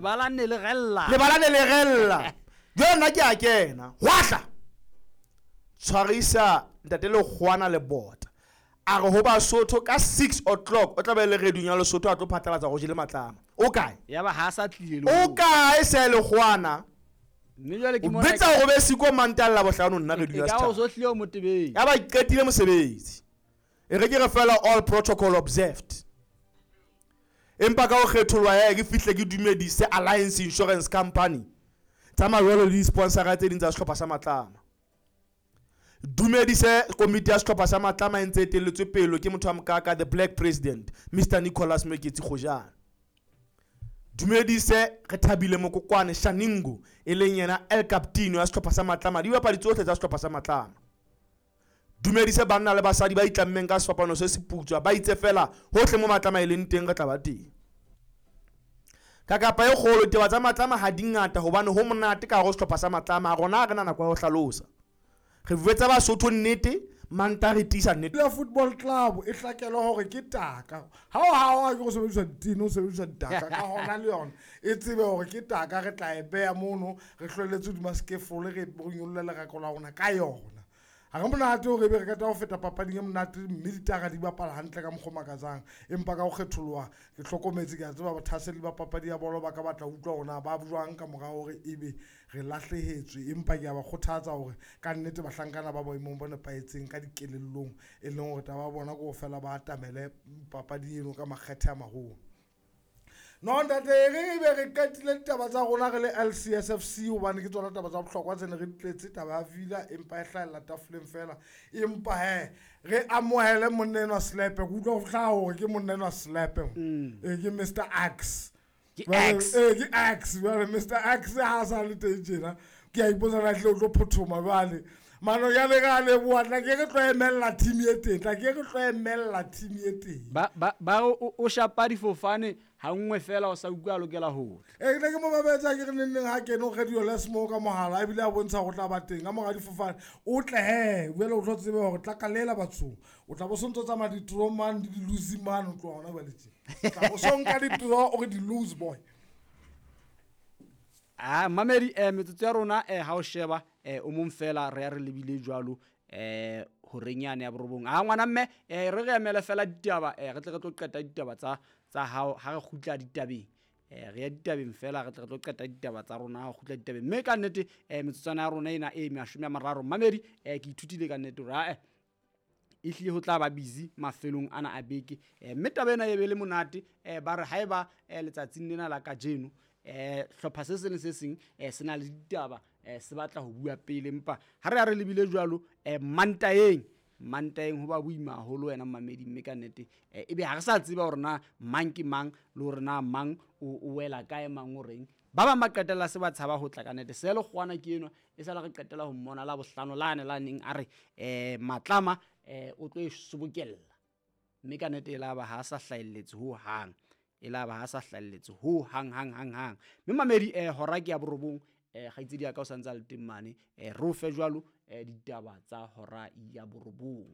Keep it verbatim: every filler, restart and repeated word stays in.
Lebala ne le rella. Lebala ne le rella. Jwale nna ke a kena. Hwahla. Tshwarisa ntate Lekgowana lebota. A re ho Basotho ka six o'clock o tla be le radio ya Lesotho a tlo phatlalatsa go jele matlama. O kae? Ya ba ha sa tlile le O kae se Lekgowana? Mme jwale ke O mona betsa hore be siko mantalla bohlano nna radio e ya ka o setjhaba. so hlile o motebeng. Ya ba qetile mosebetsi. E re ke re fela all protocol observed. Empa ka ho kgetholwa ya ke fihle ke dumedise Alliance Insurance Company. Tsa mawelo le di-sponsor tse ding tsa sehlopha sa Matlama. Dumedise komiti ya sehlopha sa Matlama e ntse e etelletswe pele ke motho wa mokaka, the Black President, Mister Nicholas Meketsi Kgojane. Dumedise re thabile Mokokwane Shaningo e leng yena El Capitano ya sehlopha sa Matlama, dibapadi tsohle tsa sehlopha sa Matlama. Dumedise banna le basadi ba itlammeng ka sefapano se se putswa, ba itse fela hohle mo Matlama e leng teng re tla ba teng. Ka kapa e kgolo ditaba tsa Matlama ha di ngata hobane ho monate ka hare ho sehlopha sa Matlama, rona ha re na nako ya ho hlalosa. Re buetsa Basotho nnete, Manta re tiisa nnete. La Football Club e hlakelwa hore ke taka. Ha o ha o ke go sebedisa ditene, o sebedisa ditaka ka hona le yona. E tsebe hore ke taka, re tla e beha mono, re hlwelletse hodima scaffold, re nyolle lerako la rona ka yona. Ha re monate hore ebe re qeta ho feta papading e monate mme ditaka di bapala hantle ka mokgwa o makatsang. Empa ka ho kgetholoha, ke hlokometse, ke a tseba bathaseli ba papadi ya bolo ba ka batla ho utlwa hore na ba jwang ka mora hore ebe re lahlehetswe. Empa ke a ba kgothatsa hore ka nnete bahlankana ba boemong bo nepahetseng ka dikelellong, e leng hore taba ya bona ke ho fela ba atamele papadi eno ka makgethe a maholo. No ntate, re be re qetile ditaba tsa rona re le L C S F C hobane ke tsona taba tsa bohlokwa tse ne re di tletse, taba ya Villa empa e hlahella tafoleng fela. Empa he, re amohele monna enwa Slepe. Ke utlwa ho hlaha hore ke monna enwa Slepe. Mm. Eh, ke Mister X. Ke Jwale, X. eh, ke X. Jwale Mister X ha a sa le teng tjena, ke a ipotsa na tle o tlo phothoma jwale. Mano ya le ka leboha, tla ke re tlo emella team e teng, tla ke re tlo emella team e teng. Ba, ba, ba o, o shapa difofane ha nngwe fela o sa utlwa a lokela ho tla. Eh, ke ne ke mo babetsa ke re neng neng ha kene o radio les mo ka mohala, ebile a bontsha hore o tla ba teng. Ka mora difofane, o tle he, jwale o tlo tsebe hore tla kalela bathong. O tla bo so ntso tsamaya di-draw mane, le di-lose mane, o tloha hona jwale tje. O tla bo so nka di-draw, o re di-lose boy. Ah, mamedi, eh, metsotso ya rona, eh, ha o sheba, eh, o mong fela re ya re lebile jwalo, eh, horeng yane ya borobong. Ah, ngwana mme, eh, re re emele fela ditaba, eh, re tle re tlo qeta ditaba tsa, tsa hao ha re kgutla ditabeng. Eh, re ya ditabeng fela, re tle re tlo qeta ditaba tsa rona ha re kgutla ditabeng. Mme ka nnete, eh, metsotswana ya rona ena e mashome a mararo. Mamedi, eh, ke ithutile ka nnete hore, ah, eh, ehlile ho tla ba busy mafelong ana a beke. Eh, mme taba ena e be le monate, eh, ba re haeba, eh, letsatsing lena la kajeno, eh, hlopha se seng le se seng, eh, se na le ditaba, eh, se batla ho bua pele. Empa ha re ya re lebile jwalo, eh, Mantaeng, Mantaeng ho ba boima haholo wena mamedi, mme ka nnete, eh, ebe ha re sa tseba hore na mang ke mang, le hore na mang o, o wela kae, mang o reng. Ba bang ba qetella se ba tshaba ho tla ka nnete. Se le kgwana ke enwa, e sala re qetella ho mmona la bohlano lane la neng a re, eh, Matlama, eh, o tlo e sobokella. Mme ka nnete e la ba ha sa hlahelletse ho hang. E la ba ha sa hlahelletse ho hang, hang, hang, hang. Mme mamedi, eh, hora ke ya borobong, eh, kgaitsedi ya ka o santse a le teng mane, eh, re o fe jwalo, eh, ditaba tsa hora ya borobong.